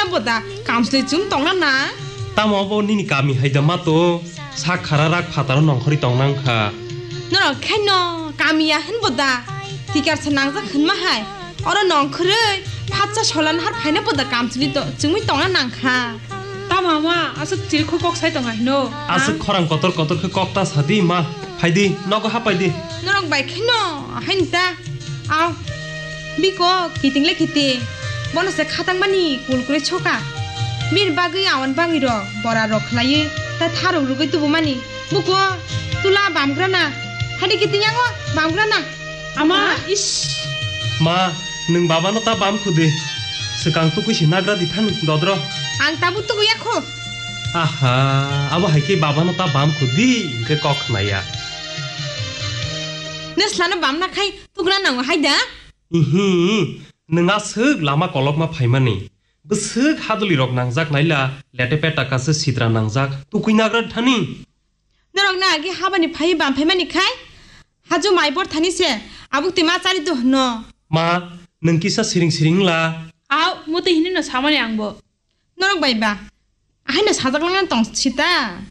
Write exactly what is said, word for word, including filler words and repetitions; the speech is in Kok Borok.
Boda, kamsli chum tongna na? Tamo abo nini kami hai da ma to, sak khara rak phataro nongkhori tongna wngkha. Norok khaino kamiya hin boda, tikar sa nangjak hin ma hai. Oro nongkhoroi, phatsa solan har phaina boda kamsli to, chumui tongna nangkha. Tamo ama, aswk chirikhoi kok sai tonga hino? Aswk khorang kotor kotor khe kok ta sadi ma, phaidi, nogo hapaidi. Norok bai khaino, hain ta. Aw, biko, kiting le kiting. Bono se khatang mani kul kure choka. Bini bagwi awan bagwi rok, bora rok khlaiwi, ta tharok rugwi tubu mani. Buko, tula bamgrana. Hadi kiting yango, bamgrana. Ama, ha? Ish. Ma, nwng babano ta bam khudi. Swkang tukui si nagra di thani, dodro. Ang tabuk tukui ya kho. Aha, abo hai khe babano ta bam khudi, hwnkhe kok khnaya. Neslano bamna khai, tukna nango hai da? Ihi, nwng aswk lama kolokma phaimani. Bwswk hadulirok nangjak naila, lete peta kasa sitra nangjak, tukui nagra thani. Norok na agi habani phai bam phaimani khai? Haju mai bor thani se, abuk twi ma chari do hwno. Ma, nwng kisa siring siring la. Aw, muti hini no samani angbo. Norok bai ba, ahaino sajak langna tong sita.